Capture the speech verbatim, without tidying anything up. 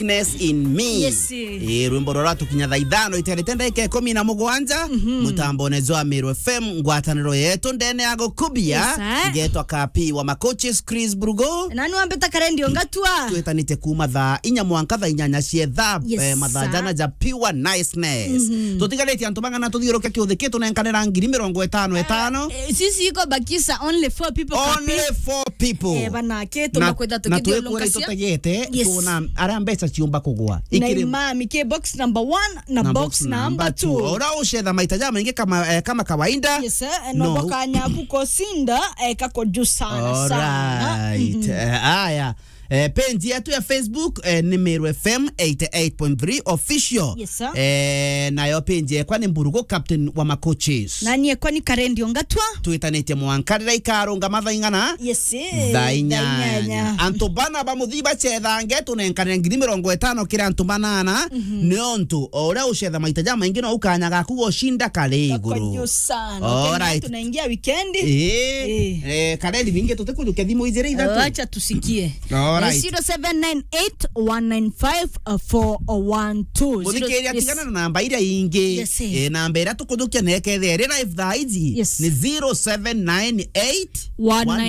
Weakness in Me. Yes. Eh, rwimbo rura tukinya thaa ithano iterete ndagika ikumi na mugwanja, mutambone jwa Meru F M, ngwataniro yetu ndene ya gukubia, Yes, sir. Ngetwa Kapi wa Makoches, Chris Brugo. Na ni wambita Karendi Ongatua. Twitanite kuma thaa inya mwanka thaa inyanya cia thaa, Yes, eh, mathaa sir. jana ja pure niceness. Tutigarite antu bang'ana tuthiuruke kiuthi kitu nenkanira ngiri mirongo itano itano. Eh, sisi iko bakisa only four people, Kapi. Only four people. Eh, bana, kitu Na, makwenda na tukithi twikwira ulungasia. itutegete, Yes. tuona aria mbeca ciumba kugwa. Na Ikiri imami ki box number one na Na box box number number two. two. Ora ucetha maita ja maingi kama, eh, kama kawaida. Yes, eh, No. no boka nyabu kosinda, eh, kako juu sana, sana. Alright. Mhm. Eh, aya. Eh, page yetu ya Facebook, eh, ni Meru F M eighty eight point three official. Yes, sir. Eh, nayo page yekwa ni Mburugu Captain wa Makoches. Na niĩ kwa ni Karendi Ongatua. Twitanitie mwanka riria ikarunga mathaa ing'ana? Yes, eh, Thaa thaa inyanya. inyanya. Antu bana ba muthii bacethange tunenkane ngiri mirongo itano kiri antu banana, Mhm. niontu o uria ucetha maita ja maingi no ukanya gaku gushinda kari iguru. Kako juu sana. Alright. Tunaingia weekend. Eh, Eh. eh, Karendi bingi tutikujukia thimu ijiri ithatu. Acha tusikie. Alright. Eh, zero seven nine eight one nine five four one two. Muthikiria, Zero, yes. tigana na namba iria ingi. Yes, yes. Eh, namba iria tukujukia nekethia iri live thaa iji Yes. ni zero seven nine eight one nine